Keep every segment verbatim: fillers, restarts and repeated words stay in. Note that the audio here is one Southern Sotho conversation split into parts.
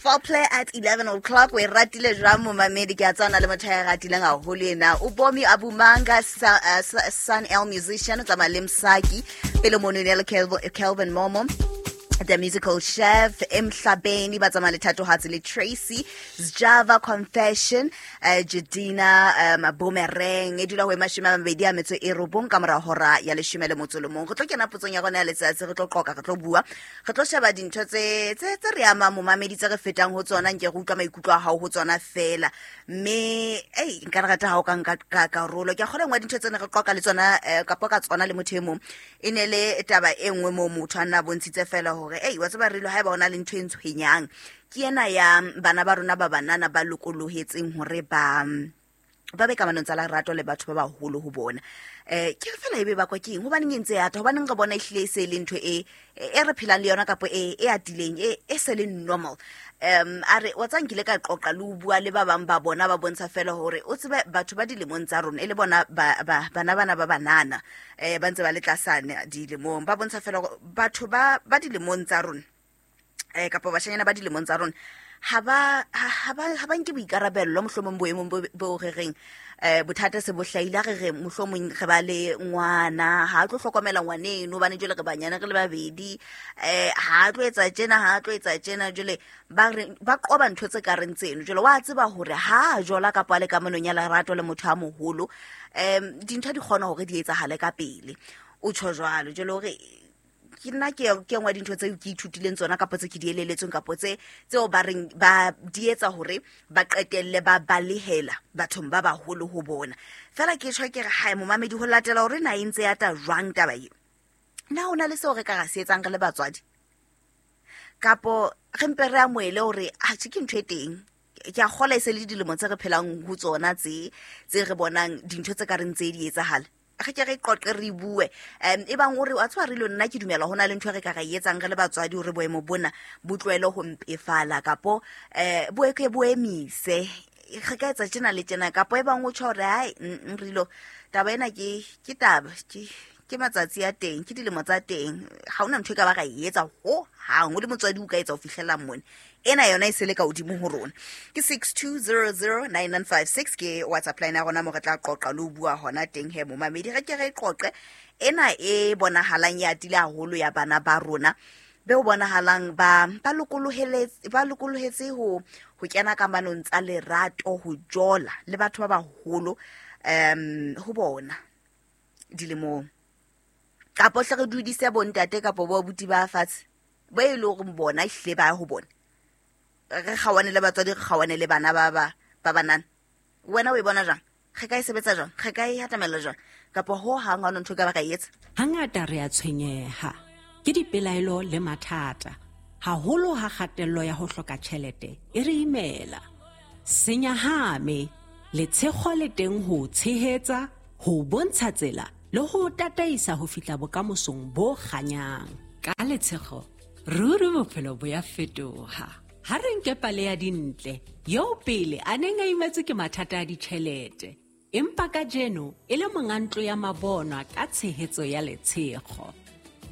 Foreplay at eleven o'clock. We ratile jwang momamedi, ke a tswana le motho ya ratileng haholo ena. O Bomi Abumanga, uh, Sun El musician, tsamaya le Msaki, pele mono ne le Kelvin Momo, The Musical Chef, Emhlabeni, ba tsamaya le Thatohatsi le Tracy, Java Confession, uh, Jadina, um, Boomerang, e dula ho mashome a mabedi a metso e robong ka mora hora ya leshome le motso le mong. Re tlo kena potsong ya rona ya letsatsi, re tlo qoqa, re tlo bua, re tlo sheba dintho tse tse tse re amang momamedi, tse re fetang ho tsona, nke re utlwa maikutlo a hao ho tsona fela. Mme ei nka rata ha o ka nka ka karolo. Ke a kgolwa nngwe dintho tsena re qoqa le tsona, eh, kapa ka tsona le motho e mong, e ne le taba e nngwe moo motho a nna bontshitse fela hore ei wa tseba re lo haeba ona le ntho e ntshwenyang ke ena ya bana ba rona ba banana ba lokolohetseng hore ba ba be kamanong tsa lerato le batho ba baholo ho bona. Eh ke fela ebe ba kwa ke eng, hobaneng e ntse ya ata, hobaneng re bona ehlile e se le ntho e e re phelang le yona kapa e e atileng, e e se le normal. Um a re wa tsa nkile ka qoqa le ho bua le ba bang ba bona, ba bontsha fela hore o tsebe batho ba dilemong tsa rona e le bona ba bana bana ba banana eh ba ntse ba le tlasane dilemong, ba bontsha fela hore batho ba ba dilemong tsa rona eh kapa bashanyana ba dilemong tsa rona ha ba ha ba ha ba nke boikarabello mohlomong boemong bo bo re reng eh bothata se bo hlahile, re re mohlomong re ba le ngwana ha tlo hlokomela ngwaneno hobane jwale re banyana re le babedi, eh ha tlo etsa tjena, ha tlo etsa tjena, jwale ba re ba qoba ntho tse ka reng tseno. Jwale wa tseba hore ha jola kapa le kamanong ya lerato le motho a moholo, em dintho di kgona hore di etsahale ka pele, o tjho jwalo. Jwale hore ke nna ke ke nngwe dintho tseo ke ithutileng tsona kapa tse ke di eleletsweng kapa tse tseo ba reng ba di etsa hore ba qetelle ba balehela bathong ba baholo ho bona. Fela ke tjho ke re hae momamedi ho latela hore na e ntse ya ta jwang taba eo, na hona le seo re ka ra se etsang re le batswadi kapo re mpe re amohele hore a tjhe ke ntho e teng. Ke a kgola e se le dilemo tse re phelang ho tsona tse tse re bonang dintho tse ka reng tse di etsahala, re ke re qoqe re bue. Um e bang hore wa tswa re lo nna ke dumela hona le ntho re ka ra etsang re le batswadi hore boemo bona bo tlohele ho mpefala kapo eh bo ke bo emise, re ka etsa tjena le tjena, kapo e bang o tjho hore hai re lo taba ena ke ke taba ke ke matsatsi a teng, ke dilemo tsa teng, ha hona ntho e ka ba ra etsa ho hang o le motswadi o ka etsa ho fihlela mone ena yona e sele ka hodimo ho rona. Ke six two zero zero nine nine five six ke WhatsApp line ya rona mo re tla qoqa le ho bua hona teng he momamedi. Re ke re qoqe ena e bonahalang ya atile haholo ya bana ba rona be o bonahalang ba ba lokolohetse ba lokolohetse ho ho kena kamanong tsa lerato, ho jola le batho ba baholo um ho bona dilemong, kapo hle re dudise bontate kapo bo abuti ba fatshe ba e le hore bona ehlile ba ho bona, re kgawane le batswadi, re kgawane le bana ba ba ba banana. Wena o e bona jwang? Re ka e sebetsa jwang? Re ka e hatamela jwang? Kapa ho hang ha ntho ka ba ka etsa? Hangata re a tshwenyeha ke dipelaelo le mathata, haholo ha kgatello ya ho hloka tjhelete e re imela. Senyahame letshego le teng ho tshehetsa, ho bontsha tsela le ho tataisa ho fihla bokamosong bo kganyang. Ka letshego ruri bophelo bo ya fetoha. Ha re nke pale ya Dintle, eo pele a neng a imetswe ke mathata a ditjhelete, empa kajeno e le monga ntlo ya mabonwa ka tshehetso ya Letshego.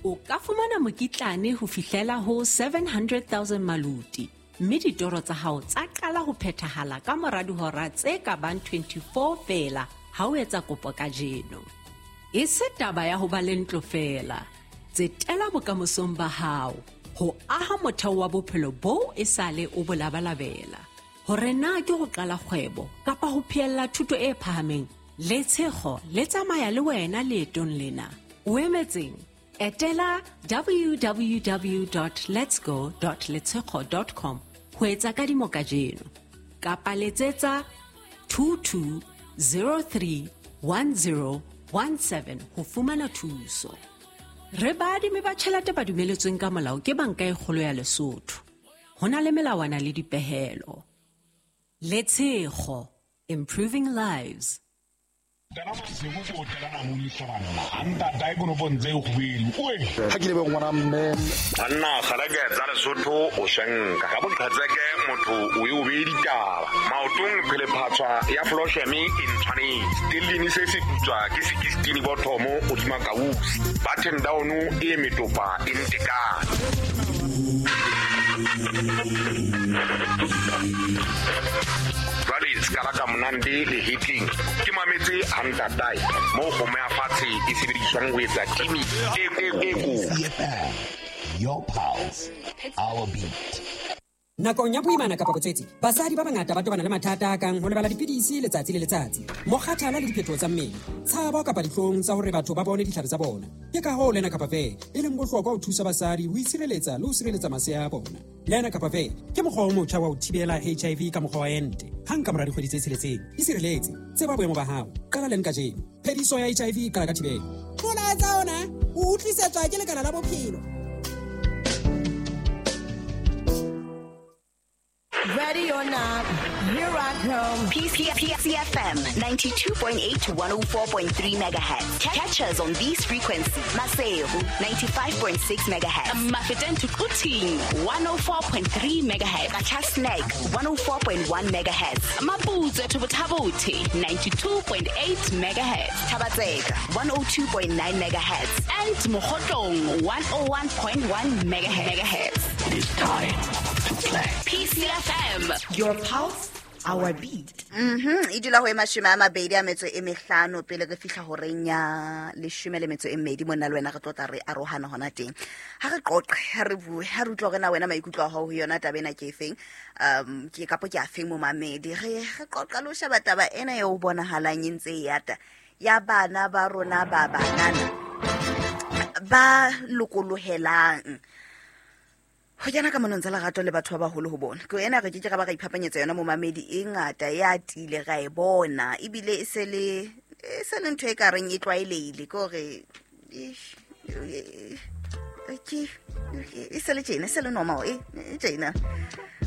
O ka fumana mokitlane ho fihlela ho seven hundred thousand maluti, mme ditoro tsa hao tsa qala ho phethahala ka mora dihora tse ka bang twenty-four feela ha o etsa kopo kajeno. E se taba ya ho ba le ntlo feela, tsetela bokamosong ba hao ho aha motheo wa bophelo boo e sale o bo labalabela. Hore na ke ho qala kgwebo kapa ho phehella thuto e phahameng, Letshego le tsamaya le wena leetong lena. O emetseng? Etela w w w dot letsgo dot letshego dot com ho etsa kadimo kajeno, kapa letsetsa two two zero three one zero one seven ho fumana thuso. Re baadimi ba tjhelete ba dumeletsweng ka molao ke Banka e Kgolo ya Lesotho. Ho na le melawana le dipehelo. Letshego, improving lives. Ha ke lebe ngwana mme banna kgalake tsa Lesotho o shenka ka boqhetseke motho o e o be ditaba maotong phelephatswa ya flosheme e ntshwanetse stellini se se putswa ke sixteen bothomo o dima kausi button down e metopa e ntekane. Jwale skala ka monande le hitling ke mametse a ntatae mo kgomo ya fatshe e sebediswang ho etsa timi e e e ko. Your pulse, our beat. Nakong ya boimana kapa botswetsi, basadi ba bangata ba tobana le mathata a kang ho lebala dipidisi letsatsi le letsatsi, mokgathala le diphetoho tsa mmele, tshabo kapa dihlong tsa hore batho ba bone ditlhare tsa bona. Ke ka hoo Lena Kapa Ve e leng bohlokwa ho thusa basadi ho itshireletsa le ho sireletsa masea a bona. Lena Kapa Ve ke mokgwa o motjha wa ho thibela H I V ka mokgwa wa ente. Hang ka mora dikgwedi tse tsheletseng, isireletse, tseba boemo ba hao. Qala leng kajeno. Phediso ya H I V e qala ka thibelo. Molaetsa ona o utlwisetswa ke Lekala la Bophelo. Ready or not, here I come. P C F M ninety-two point eight to one oh four point three megahertz. Catch us on these frequencies. Maseru ninety-five point six megahertz. Mafeteng to Quthing one oh four point three megahertz. Qacha's one oh four point one megahertz. Maputsoe to Botha-Bothe ninety-two point eight megahertz. Thaba-Tseka one oh two point nine megahertz. And Mokhotlong one oh one point one megahertz. It is time to play. P C F M. Your pulse, our beat. Mhm. E dula ho e mashome a mabedi a metso e mehlano pele re fihla horeng ya leshome le metso e mmedi monna le wena re tlotla re arohana hona teng. Ha re qoqe, ha re bue, ha re utlwa hore na wena maikutlo a hao ho yona taba ena ke efeng. Um ke kapo ke afeng momamedi. Re re qoqa le ho sheba taba ena eo bonahalang e ntse e yata ya bana ba rona ba banana ba lokolohelang ho kena ka monong tsa lerato le batho ba baholo ho bona. Ke ena re ke ke ra ba ra iphapanyetsa yona momamedi e ngata ya atile ra e bona ebile e se le e se le ntho e ka reng e tlwaelehile ke hore ke e se le tjena e se le normal e tjena.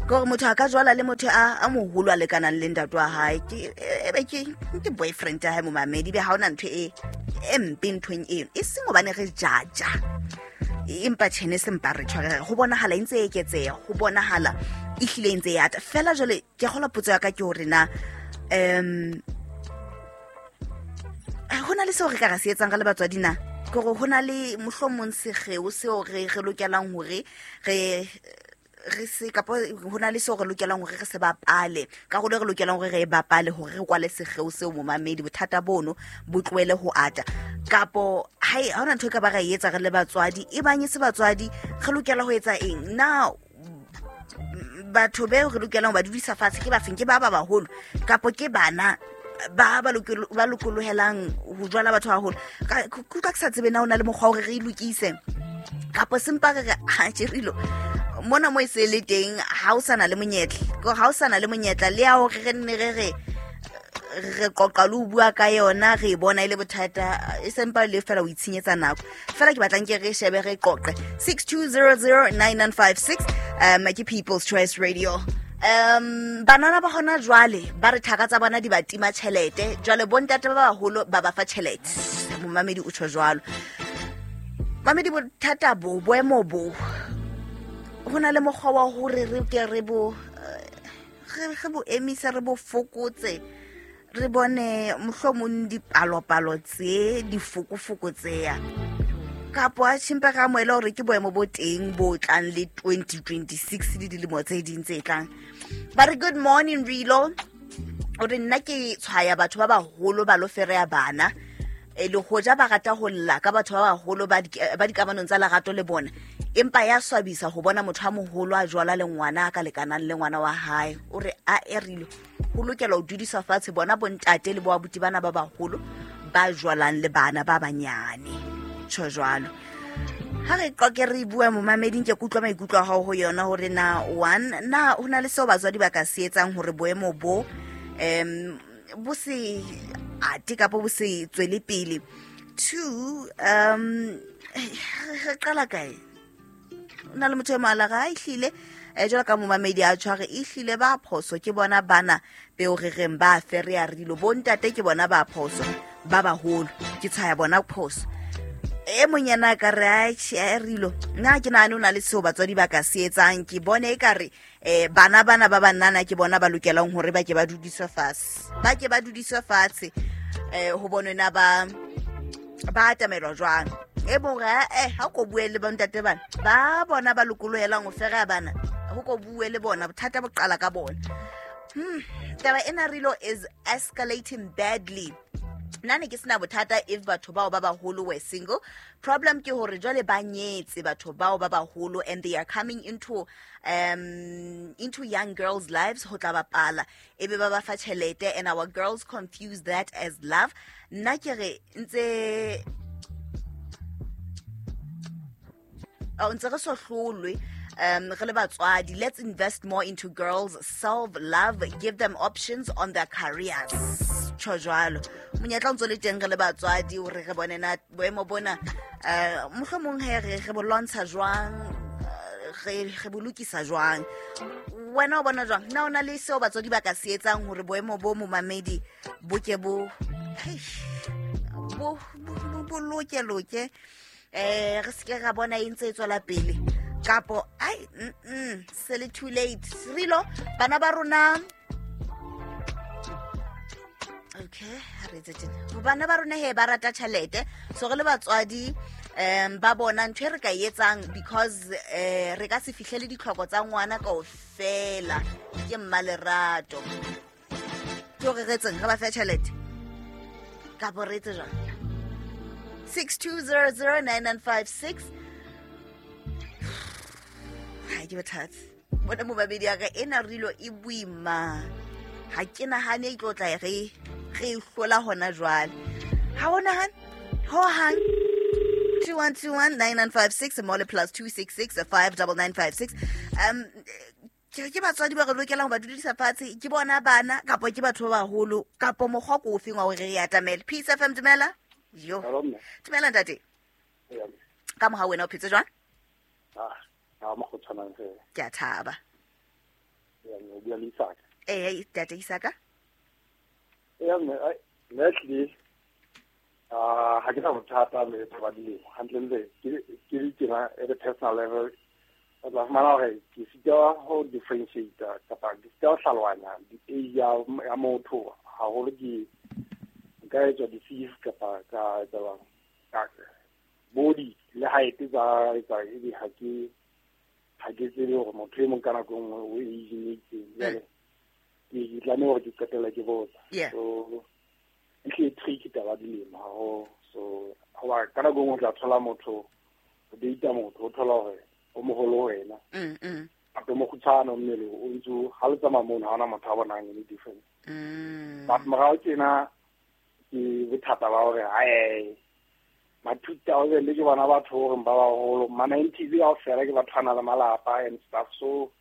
Ke hore motho a ka jwala le motho a a moholo a lekanang le ntate wa hae ke ebe ke ke boyfriend ya hae momamedi be ha ona ntho e e mpe nthong eno e seng hobane re jaja. Empa tjhene se mpa re tshware ho bonahala e ntse e eketseha ho bonahala e hlile e ntse e ata fela jwale ke kgola potso ya ka ke hore na um ho na le seo re ka ra se etsang ka le batswadi na ke hore ho na le mohlomong sekgeo seo re re lokelang hore re re se kapo ho na le seo re lokelang hore re se bapale karolo re lokelang hore re e bapale hore re kwale sekgeo seo momamedi bothata bono bo tlohele ho ata kapo hai ha hona ntho e ka ba ra e etsa re le batswadi e bang e se batswadi re lokela ho etsa eng na batho beo re lokelang ho ba dudisa fatshe ke ba feng ke ba ba baholo kapo ke bana ba ba ba lokolohelang ho jwala batho haholo ka ka ke sa tsebe na hona le mokgwa hore re e lokise kapo sempa re re ha tjerilo mona mo e se le teng ha o sana le monyetla ke ha o sana le monyetla le ya hore re nne re re re qoqa le ho bua ka yona re bona ile bothata e sempa le fela o itshenyetsa nako fela ke batlang ke re shebe re qoqe six two zero zero nine nine five six um ke People's Choice Radio. Um banana ba hona jwale ba re thaka tsa bona di ba tima tjhelete jwale bontate ba baholo ba ba fa tjhelete momamedi o tjho jwalo mamedi bothata bo boemo bo hona le mokgwa wa hore re ke re bo re re bo emisa re bo fokotse re bone mohlomong dipalopalo tse difokofoko tseya kapo a tshimpa ka moela hore ke boemo bo teng bo tlang le twenty twenty-six le dilemo tse ding tse tlang. Ba re good morning Rilo o re nna ke tshwaya batho ba baholo ba lo fereya bana e le hoja ba rata ho lla ka batho ba baholo ba ba dikamanong tsa lerato le bona empa ya swabisa ho bona motho a moholo a jwala le ngwana a ka lekanang le ngwana wa hae o re a erile ho lokela ho dudiswa fatshe bona bontate le bo abuti bana ba baholo ba jwalang le bana ba banyane tjho jwalo. Ha re qoke re bua momameding ke kutlwa maikutlo a hao ho yona hore na one na ho na le seo batswadi ba ka se etsang hore boemo bo em bo se ate kapo bo se tswele pele. Two um re qala kae na le motho e moala ga e hlile e jwalo ka momamedi a tshware e hlile ba phoso ke bona bana peo re reng ba fereya rilo bontate ke bona ba phoso ba baholo ke tshwaya bona phoso e monyana ka re a rilo nna ke nahane o na le seo batswadi ba ka se etsang ke bone e ka re eh bana bana ba banana ke bona ba lokelang hore ba ke ba dudiswe fatshe ba ke ba dudiswe fatshe eh ho bonwe na ba ba atamelwa jwang. E mong re eh ha ko bue le bontate bana ba bona ba lokolohelang ho fera bana ho ko bue le bona bothata bo qala ka bona. Hmm taba ena rilo is escalating badly. Nna ne ke sena bothata if batho bao ba baholo were single. Problem ke hore jwale ba nyetse batho bao ba baholo and they are coming into um into young girls' lives ho tla bapala ebe ba ba fa tjhelete and our girls confuse that as love. Nna ke re ntse o ntse re so hlolwe um re le batswadi. Let's invest more into girls, self love, give them options on their careers. Tjho jwalo monyetla o ntso le teng re le batswadi hore re bone na boemo bona eh mohlomong he re re bo lwantsha jwang, re re bo lokisa jwang. Wena o bona jwang? Na o na le seo batswadi ba ka se etsang hore boemo bo momamedi bo ke bo bo bo loke loke eh re se ke ra bona e ntse e tswela pele kapo ai mm se le too late. Rilo bana ba rona okay ha re etse tjena bana ba rona he ba rata tjhelete so re le batswadi um ba bona ntho e re ka etsang because eh re ka se fihlele ditlhoko tsa ngwana kaofela ke mmalerato ke hore re etseng re ba fe tjhelete kapo re etse jwang. Six two zero zero nine nine five six. Ha ke bothata bona mo babedi ya ka ena rilo e boima ha ke nahane e tlo tla re re hlola hona jwale. Ha o nahane ho hang. Two one two one nine nine five six mole plus two six six five double nine five six. Um ke ke batswadi ba re lokelang ho ba dudisa fatshe ke bona bana kapo ke batho ba baholo kapo mokgwa ko ofeng wa hore re atamele. Peace F M dumela. Yo. Dumela ntate. Ka moha wena o phetse jwang? Ah, ha mo go tshwanang fela. Ke a thaba. Ya no bua le Isaka. Eh, ntate Isaka. Ya mme, lately ah ha ke na bothata le taba dilemo. Hantlentle ke ke ke at a personal level. O tla fumana hore ke sitwa ho differentiate kapa ke sitwa ho hlalohanya di-age ya motho haholo ke ka etswa disease kapa ka etsa ka body le height tsa etsa ebe ha ke ha ke tsebe hore motho e mong ka nako e nngwe o age e itseng jwale ke tlameha hore ke qetelle ke botsa. So e hle tricky taba dilemo haholo. So hoba ka nako e nngwe o tla thola motho o data motho o thola hore o moholo ho wena gape mokgutshwane mmele o ntse ha le tsamaya mono ha hona motho a bonang any difference. But morao tjena ke bothata ba hore ae ma two thousand ke bona batho hore ba baholo ma nineties kaofela ke batho ba nang le malapa and stuff. So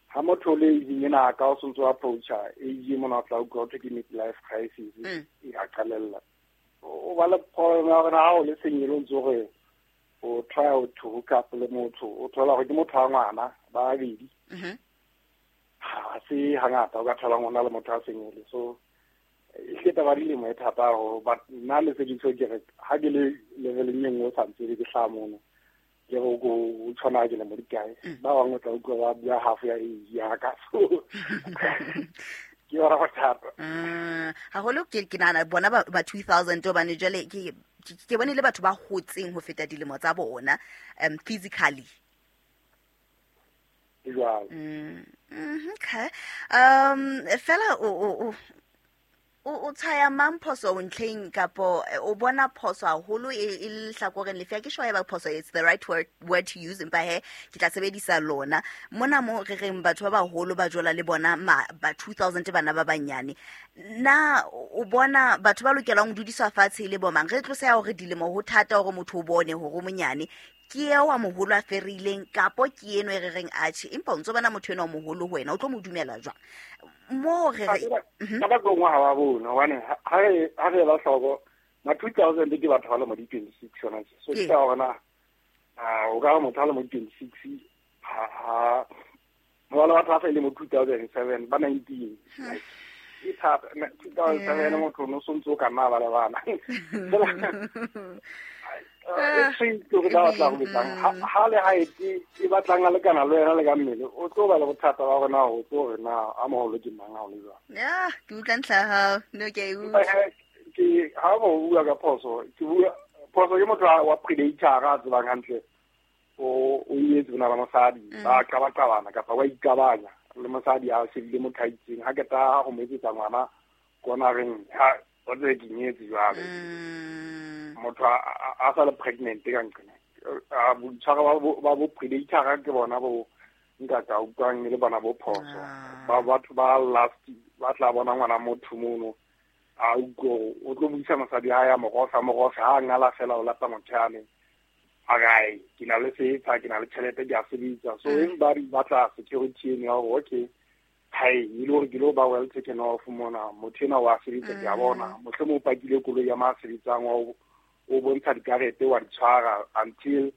ha motho le age ena ka o sontso approacha age mona o tla utlwa ho thwe ke midlife crisis e a qalella o ba le problem ya hore ha o le senyele o ntse hore o try to hook up le motho o thola hore ke motho wa ngwana ba babedi ha se hangata o ka thola ngwana le motho a senyele. So e hle taba dilemo e thata haholo but nna le se ke tjho ke re ha ke le leveleng e nngwe o sa ntse ke hlaha mono ke re o tshwana ke le mo dikae ba bangwe o tla utlwa ba bua half ya age ya ka. So ke yona bothata haholo ke ke nahana bona ba two thousand hobane jwale ke ke bone le batho ba hotseng ho feta dilemo tsa bona um physically. Jwalo. Mm, okay. Um fela o o o tshaya mang phoso ntlheng kapo o bona phoso haholo e lehlakoreng lefe? Ke sure ya ba phoso it's the right word, word to use empa he ke tla sebedisa lona mona mo re reng batho ba baholo ba jola le bona ba two thousand bana ba banyane. Na o bona batho ba lokelang ho dudiswa fatshe le bomang? Re tlose ya hore dilemo ho thata hore motho o bone hore o monyane ke eo wa moholo a ferileng kapo ke eno e re reng atjhe empa o ntso bona motho eno wa moholo ho wena o tlo mo dumela jwang mo re re ka ba gongwe ha ba bone hobane ha re ha re la hloko ma two thousand ke batho ba le mo di twenty-six yona. So ke hore na o ka motho a le mo twenty-six ha ha ba le batho ba sa ile mo two thousand seven ba nineteen e thata two thousand seven motho no sontso ka nna ba le bana. E tricky hore ba batla ho betsang ha le height e batlang a lekana le wena le ka mmele o tlo ba le bothata ba hore na o tlo hore na a moholo ke mang ha o le jwang. Ya ke utlwa ntlha ya hao no ke e utlwa ke ha bo bua ka phoso ke bua Phoso ke motho wa predator a tsebang hantle o o nyetse ona le mosadi ba qabaqabana kapa wa ikabanya le mosadi a shebile motho a itseng ha keta go mo etsetsa ngwana kona reng ha o tse ke nyetse jwale motho a sa le pregnant ka nqena a boitshwaro ba bo predator ke bona bo nka ka utlwang le bona bo phoso ba batho ba last ba tla bona ngwana motho mono a utlwe o tlo buisa mosadi ha ya mogosa mogosa ha ngala fela o lata motho yane a gae ke na le setsha ke na le tjhelete ke a sebetsa so everybody batla security eno ya hore okay hai e le hore ke lo ba well taken off mona motho ena wa sebetsa ke a bona mohlomong o pakile koloi ya ma sebetsang wa o bontsha dikarete wa di tshwara until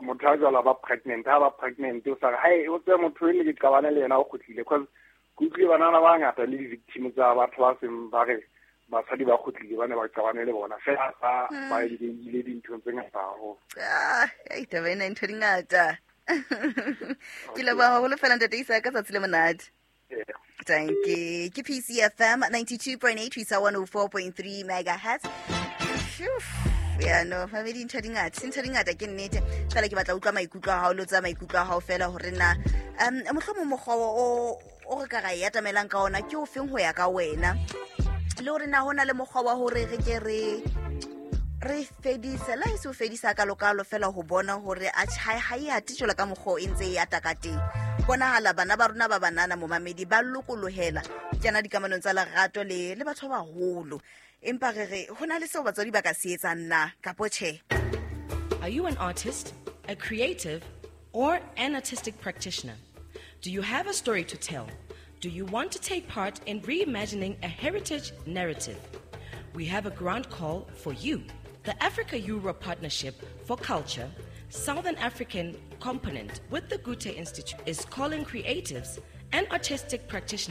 motho a jwala ba pregnant ha ba pregnant o sa re hai o tse motho ene ke qabane le yena o kgutlile because ke utlwile banana ba ngata le di-victim tsa batho ba seng ba re basadi ba kgutlile ba ne ba qabane le bona fela ba ba ile dinthong tse ngata haholo. Ah, ei taba ena ntho di ngata. Ke leboha haholo fela ntate Isa ka tsatsi le monate. Thank you. Ke P C F M ninety-two point eight ho isa one oh four point three megahertz. Ya no, family ntho di ngata, ntho di ngata ke nnete. Fela ke batla utlwa maikutlo a hao, lo tsa maikutlo a hao fela hore na um mohlomong mokgwa o o re ka ra e atamelang ka ona ke o feng ho ya ka wena. Le hore na hona le mokgwa wa hore re ke re re fedise la e se o fedisa ka lokalo fela ho bona hore a tjhai ha e ate jwalo ka mokgwa o e ntse e ata ka teng. Bonahala bana ba rona ba banana momamedi ba lokolohela kena dikamanong tsa lerato le le batho ba baholo. Empa re re hona le seo batswadi ba ka se etsang na kapo tjhe. Are you an artist, a creative, or an artistic practitioner? Do you have a story to tell? Do you want to take part in reimagining a heritage narrative? We have a grant call for you. The Africa-Europe Partnership for Culture, Southern African component with the Goethe Institute is calling creatives and artistic practitioners